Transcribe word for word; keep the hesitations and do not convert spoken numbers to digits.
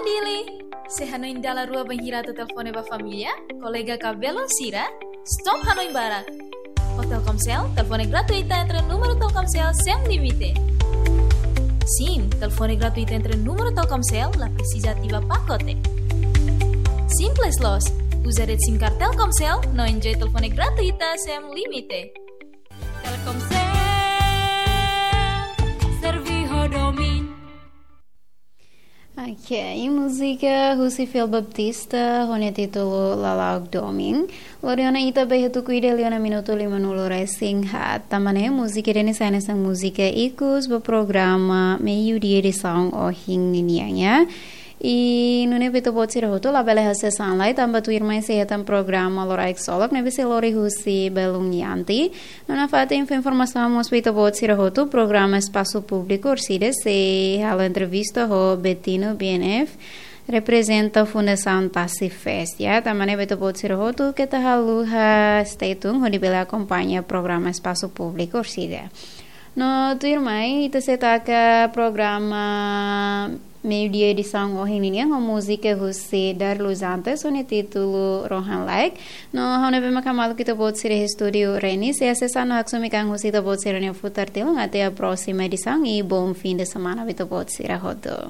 Dili, se hanoin dala rua bainhira atu telefone ba família, kolega ka belun sira, stop hanoin barak. Ho Telkomsel, telefone gratuita entre númeru Telkomsel sem limite. Sim, telefone gratuita entre númeru Telkomsel, la presiza ativa pakote. Simples loos, uza rede SIM card Telkomsel, no enjoy telefone gratuita sem limite. Telkomsel, servi ho domin. Oke, múzika husi Fil Baptista, ho nia títulu Lala'ok Domin. Lori ona ita ba iha tuku ida liu ona minutu lima-nulu resin haat. Tanba ne'e múzika ida-ne'e sai hanesan múzika ikus ba programa Meio Dia edisaun ohin ninian, ya. I nune'e ba ita-boot sira hotu labele hasees an lai, tanba tuirmai sei hetan programa loraik solok ne'ebé sei lori husi Belun Yanti. No nafatin fó informasaun mós ba ita-boot sira hotu, programa Espasu Públiku Orsida sei halo entrevista ho Betino B N F, reprezenta Fundasaun Tasi Fest, ya. Tanba ne'e ba ita-boot sira hotu keta haluha stay tune hodi bele akompaña programa Espasu Públiku Orsida. No tuirmai ita sei taka programa Meio Dia edisaun ohin ninian ho múzika husi Darlus Antes, ho nia títulu Rohan Like. No ha'u ne'ebé mak maluk ita-boot sira iha estúdiu Reni, sei hasees an no haksomi kalan husi ita-boot sira-nia futar tilun. Até a próxima edição e bom fim de semana ba ita-boot sira hotu.